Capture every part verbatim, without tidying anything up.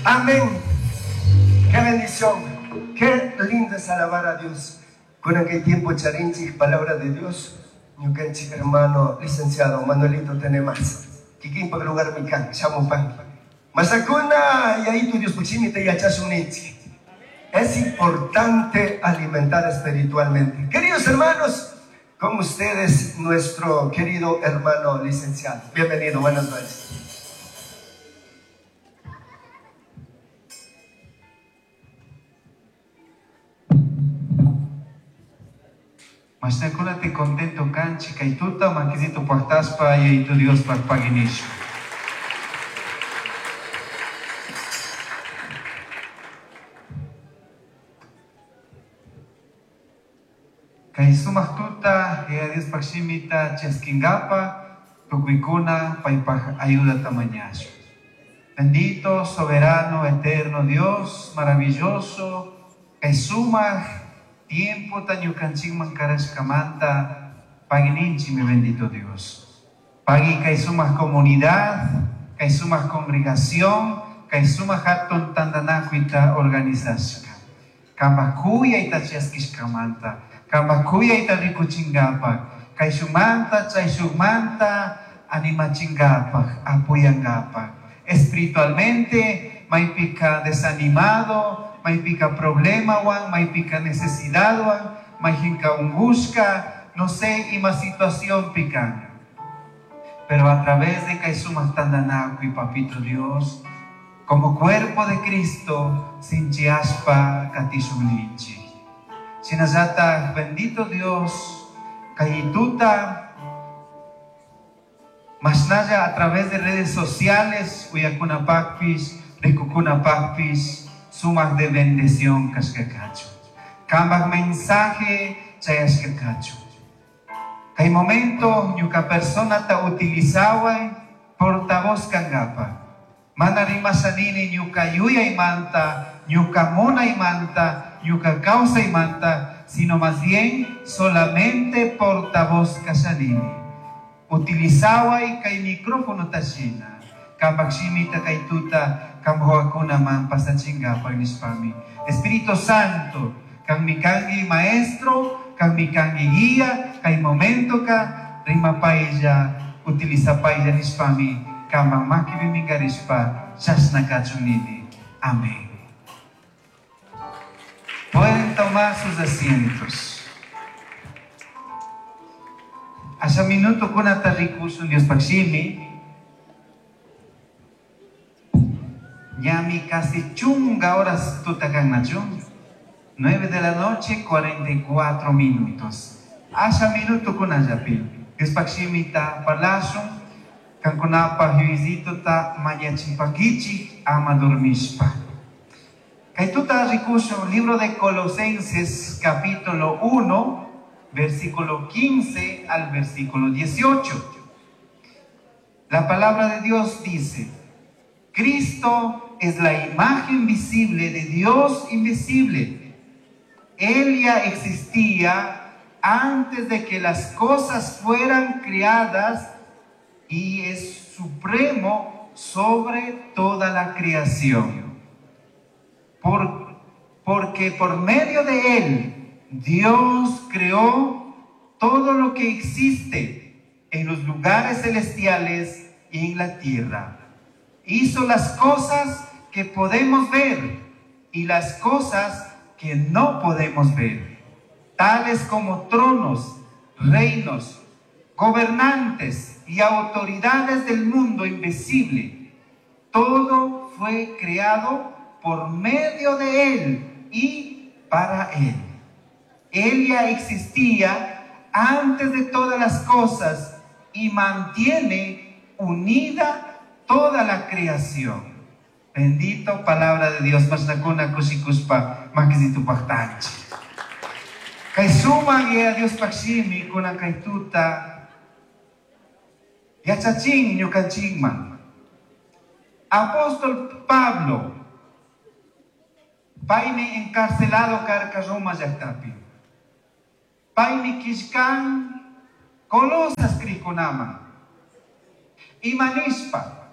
Amén. Qué bendición. Qué lindo es alabar a Dios. Con aquel tiempo charinchik, palabra de Dios. Ñukanchik hermano licenciado Manuelito Tenemas. Kikinpak lugar mikan, shamupan. Masakuna, y ahí tu Dios puchimita y achasunitzi. Es importante alimentar espiritualmente. Queridos hermanos, con ustedes nuestro querido hermano licenciado. Bienvenido, buenas noches. Mashnakuna te contento kanchi kaytuta makisito pactaspa y tu Dios paginisho. Kay sumaq tuta ya Dios pakshimita chasquingapa tukuykuna paypaj ayuda tamañasho. Bendito, soberano, eterno Dios, maravilloso, kay sumaq tiempo tañukanchikman karashkamanta pagininchi mi bendito Dios. Pagi kay sumaq comunidad, kay sumaq congregación, kay sumaq hatun tantanakuita organizashka. Kambakuyayta chaskishkamanta, kambakuyayta rikuchinkapaj, kay shumanta, chay shumanta animachinkapaj, apoyankapaj. Espiritualmente, maypika desanimado, maypika problema wan, maypika necesidad wan, maypika ungushka, no sé ima situación pican. Pero a través de kay sumaq tantanakuy, papito Dios, como cuerpo de Cristo, sinchiaspa katishunlinchi. Shinallata, bendito Dios, kayituta, mashnalla a través de redes sociales, uyakunapakpis, rikukunapakpis, sumaq de bendición kashkakachu. Kambak mensaje chayashkakachu. Kay momento ñuka persona ta utilizaway portavoz kangapa. Mana rimashanini ñuka yuyaymanta, ñuka munaymanta, ñuka kawsaymanta, sino más bien solamente portavoz kashanini. Utilizaway kay micrófono tashina. Kambak shimita kay tuta, kamboakuna man pasachingapa nishpami. Espíritu Santo, kan mi kangi maestro, kan mi kangi guía, kay momento ka rimapaylla, utilizapaylla nishpami, kambak makipi mingarishpa, chashna kachunini. Amén. Pueden tomar sus asientos. Asha minuto kunata rikushun Dios pakshimi. Ñami casi chunga horas tutakan nachu. Nueve de la noche, cuarenta y cuatro minutos. Asha minuto kunallapi. Dios pakshimi ta parlashun. Kankunapa yuizito ta mañachimpankichi ama dormishpa. Kaytuta rikushun, libro de Colosenses, capítulo uno, versículo quince al versículo dieciocho. La palabra de Dios dice: Cristo es la imagen visible de Dios invisible. Él ya existía antes de que las cosas fueran creadas y es supremo sobre toda la creación. Por, porque por medio de Él, Dios creó todo lo que existe en los lugares celestiales y en la tierra. Hizo las cosas que podemos ver y las cosas que no podemos ver, tales como tronos, reinos, gobernantes y autoridades del mundo invisible. Todo fue creado por medio de Él y para Él. Él ya existía antes de todas las cosas y mantiene unida toda la creación. Bendito palabra de Dios. Mashnakuna kushikuspa makisitu paktanchi. Kay suma guía Dios pakshimi kuna kaytuta yachachin ñukanchikman. Apóstol Pablo paymi encarcelado karka Roma llaqtapi. Paymi kishkan Colosas krikunaman. Imanishpa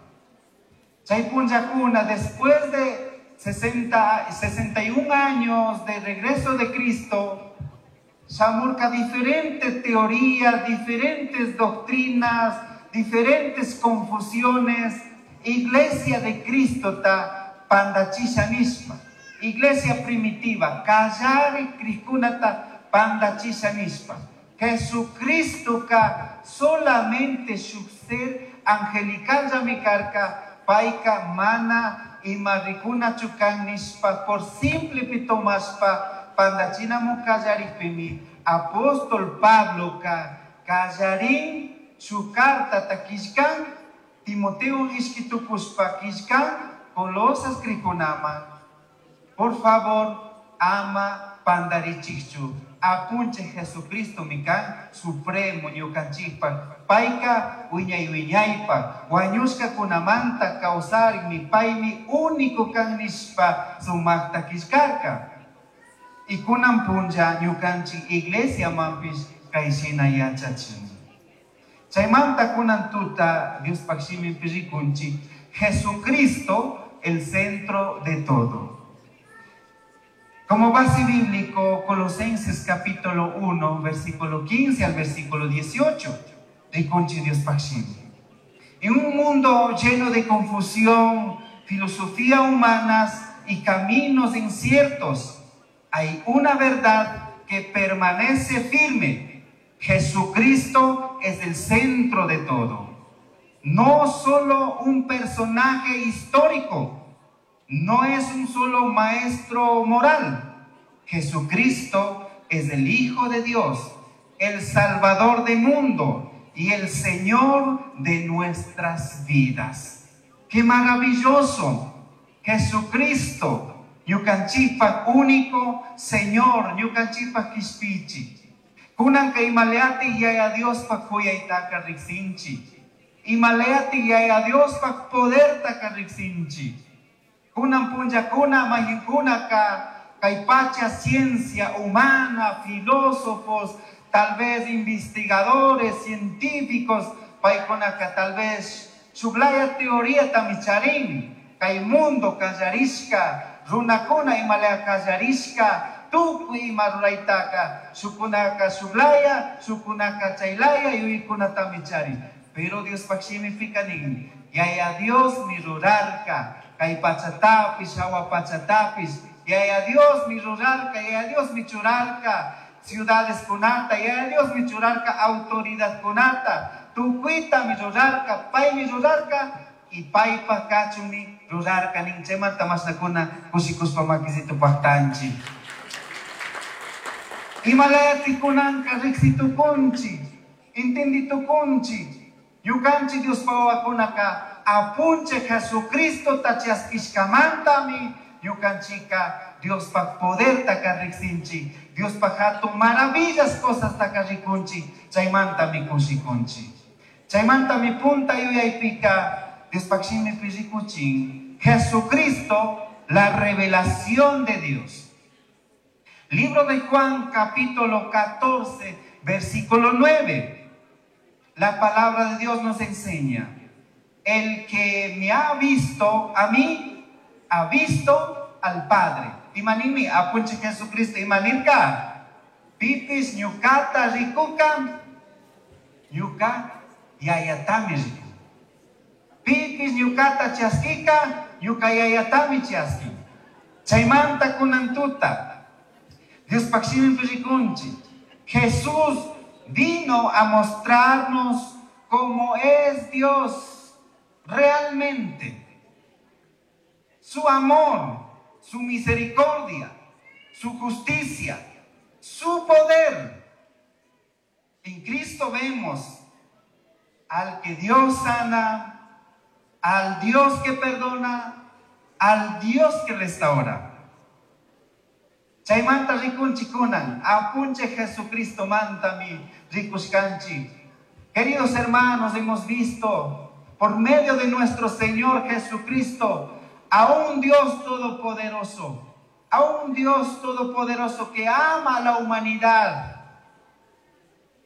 Chay punllakuna, después de sesenta, sesenta y un años de regreso de Cristo, shamurka diferentes teorías, diferentes doctrinas, diferentes confusiones. Iglesia de Cristo ta pandachisha nishpa. Iglesia primitiva, kallari krikkunata pandachisha nishpa. Jesucristo ka solamente shuk ser angelical llami karka, payka mana ima rikunachu kan nishpa, por simple pitomashpa pandachinamu kallarikpimi, apóstol Pablo ka kallarin su carta ta killkan, Timoteo ishkitukushpa killkan, Colosas krikunaman. Por favor, ama pandarichikchu. Apunche Jesucristo mikan supremo ñukanchikpa. Payka wiñay wiñaypa. Wañushka kunamanta kawsarin mi paymi único kan nishpa sumakta killkarka. Y kunan punlla ñukanchik iglesia manpish kayshina yachachin. Chaymanta kunan tuta Diospaj shiminpi rikunchik Jesucristo el centro de todo. Como base bíblico, Colosenses capítulo uno, versículo quince al versículo dieciocho, rikunchik Diospaj shimi. En un mundo lleno de confusión, filosofía humanas y caminos inciertos, hay una verdad que permanece firme. Jesucristo es el centro de todo. No solo un personaje histórico, no es un solo maestro moral. Jesucristo es el Hijo de Dios, el Salvador del mundo y el Señor de nuestras vidas. ¡Qué maravilloso! Jesucristo, ñukanchikpaj único Señor, ñukanchikpaj kishpichi. Kunanka imaleati yaya Diospaj kuyaytaka riksinchi. Imaleati yaya Diospaj podertaka riksinchi. Kunan punllakuna mayinkunaka kay pacha ciencia humana, filósofos, tal vez investigadores, científicos, paykunaka tal vez shuklaya teoría tamicharin, kay mundo kallarishka, runakuna imalea kallarishka, tukuy ima ruraytaka, shukunaka shuklaya, shukunaka chaylaya, yuyikuna tamichari. Pero Dios shimipika nin, yaya Dios mi rurarka, kay pachatapis, hawa pachatapis, yaya Dios mi rurarka, yaya Dios mi churarka, ciudades kunata, yaya Dios mi churarka, autoridad kunata, tukuita mi rurarka, pay mi rurarka, y paypa kachumi rurarka nin chaymanta mashnakuna kushikuspa makisito pajtanchi. Imalayati kunanka riksitukunchi, entenditukunchi, ñukanchi Dios pawakunaka apunche Jesucristo tachaskishkamantami ñukanchika Diospaj poderta riksinchi, Diospaj hatun maravillas cosas taka rikunchi, chaymantami kushikunchi. Chaymantami punta yuyaypika Diospaj shimipi rikuchin Jesucristo, la revelación de Dios. Libro de Juan, capítulo catorce, versículo nueve. La palabra de Dios nos enseña: el que me ha visto a mí, ha visto al Padre. Imanimi, apunche Jesucristo, imanirka. Pipis ñukata rikuka, ñuka yayatami riku. Pipis ñukata chaskika, ñuka yayatami chaski. Chaymanta kunantuta. Dios shiminpi rikunchi. Jesús vino a mostrarnos cómo es Dios realmente. Su amor, su misericordia, su justicia, su poder. En Cristo vemos al que Dios sana, al Dios que perdona, al Dios que restaura. Chaymanta rikunchi kunan, apunche Jesucristo mantami rikushkanchi. Queridos hermanos, hemos visto por medio de nuestro Señor Jesucristo a un Dios todopoderoso, a un Dios todopoderoso que ama a la humanidad.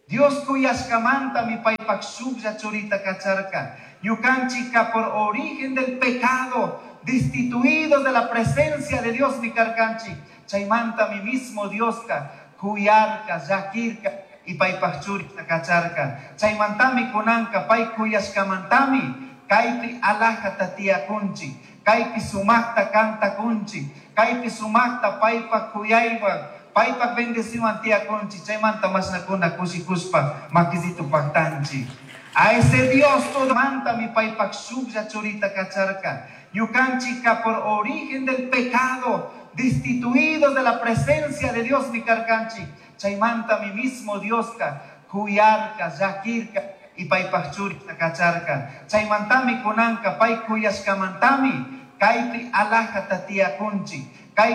Dios kuyashkamantami paypak shuklla churita kacharka. Ñukanchika por origen del pecado, destituidos de la presencia de Dios mi karkanchik. Chaymantami mismo Dioska kuyarka, llakirka y paypak churita kacharka. Chaymantami kunanka pay kuyashkamantami kaypi alajata tiyakunchik, kaypi sumakta kantakunchik, kaypi sumakta paypak kuyaywan, paypak bendeciwan tiyakunchik. Chaymanta mashnakuna kushikushpa makisito paktanchik. A ese Dios todo mantami paypak shuklla churita kacharka. Ñukanchika por origen del pecado, destituidos de la presencia de Dios mi karkanchik. Chaymantami mismo Dioska kuyarka, llakirka y paypak churita kacharka. Chaymantami kunanka pay kuyashkamantami kaypi alajata tiyakunchik,